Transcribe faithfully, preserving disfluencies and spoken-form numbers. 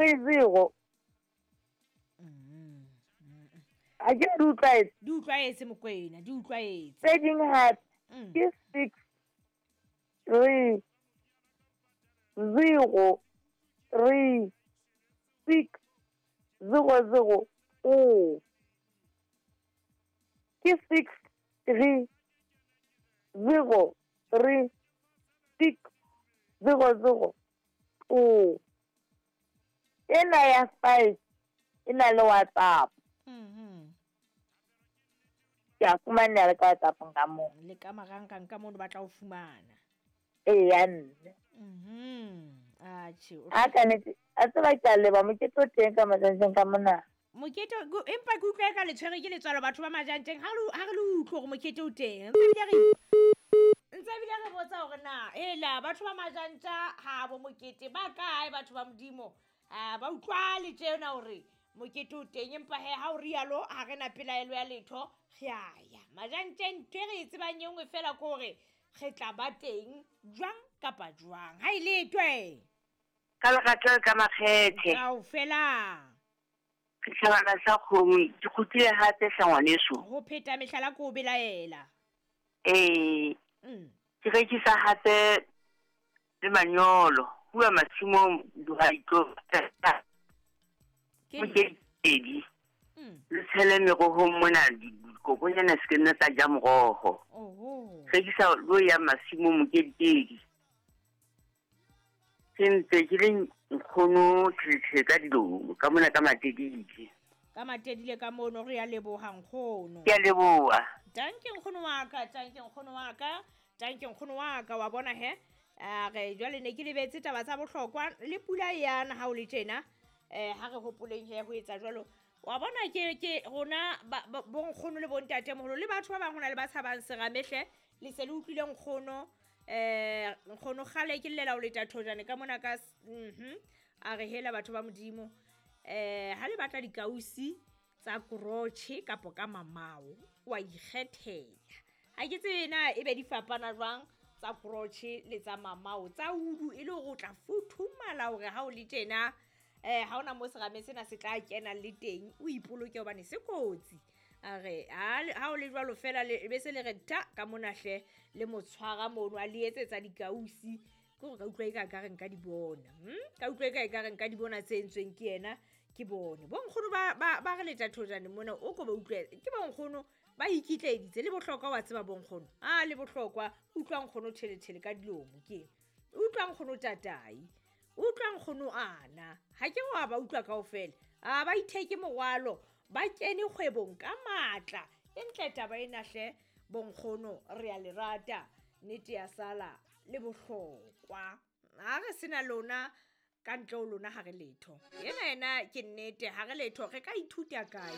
Three zero. A ke di utlwaetse. Di utlwaetse Mokwena, di utlwaetse. Tse ding hape Mm. ke six three zero three six zero zero two. Ke six three zero three six zero zero two. Ena ya five e na le WhatsApp. Mhm. Ke a fumaneha le ka WhatsApp ka moo. Le ka marangrang ka mono ba tla o fumana. Eya nne. Mhm. Atjhe. o- A ka nnete, a tseba ke a leboha mokete o teng ka Majantjeng ka mona. Mokete ko- empa ke utlwa eka le tshwere ke letswalo batho ba Majantjeng ha re ha re le utlwe hore mokete o teng. Ntse ebile re ntse ebile re botsa hore na hela batho ba Majantja ha bo mokete ba kae batho ba Modimo. Ah ba utlwale tjena hore mokete o teng empa he ha o rialo ha re na pelaelo ya letho re a ya. Majantjeng ntho e re e tsebang e nngwe fela ke hore re tla ba teng jwang kapa jwang. Ha e letwe. Ka lerato le ka makgethe. Kaofela. Setjhabana sa kgomo ke kgutlile hape hle ngwaneso. Ho pheta mehlala ke o belaela. Ee, Mm. ke rekisa hape le manyolo. Huwa masimong dihwai tlo Ke mokedi. Mm. Le tshele merohong mona dikokonyana se ke nna tsa ja moroho. Oho. Rekisa lo ya masimong mokedikedi. Ke ntse ke le nkgono thethe ka dilomo ka mona ka Matedile. Ka Matedile ka mono re a leboha nkgono. Ke a leboha. Tanke nkgono wa ka, tanke nkgono wa ka, tanke nkgono wa ka wa bona he. A re jwale ne ke lebetse taba tsa bohlokwa le pula e yana ha o le tjena. Eh ha re hopoleng he ho etsa jwalo. Wa bona ke ke rona ba- ba- bo nkgono le bontatemoholo le batho ba bang hona le ba tshabang serame hle. Le se le utlwile nkgono eh nkgono kgale ke llela o leta thojane ka mona ka s-, mhm a re hela batho ba Modimo. Eh ha le batla dikausi tsa krotjhe kapo ka mamao wa ikgethela. Ha ke tsebe na e be di fapana jwang tsa krotjhe le tsa mamao tsa udu e le hore o tla futhumala hore ha o le tjena eh ha ona mo serame sena se tla kena le teng o ipoloke hobane se kotsi. A re ha le, ha o le jwalo fela le be se le re ta ka mona hle le mo tshwara mono a le etsetsa dikausi ke hore ka utlwa eka ka re nka di bona. Hm? Ka utlwa eka ka re nka di bona tse entsweng ke yena ke bone. Bo nkgono ba, ba, ba re leta thojane mona o ko ba utlwe ke bo nkgono ba ikitlaeditse le bohlokwa wa tseba bo nkgono. Ah le bohlokwa utlwa nkgono tjheletjhele ka dilomo ke. Utlwa nkgono tatai. Utlwa nkgono ana. Ha ke wa ba utlwa kaofela. Ah ba itheke morwalo ba kene kgwebong ka matla. E ntle taba ena hle bo nkgono re a le rata. Nnete ya sala le bohlokwa. Ha re sena lona ka ntle ho lona ha re letho. Ena ena ke nnete ha re letho re ka ithuta kae?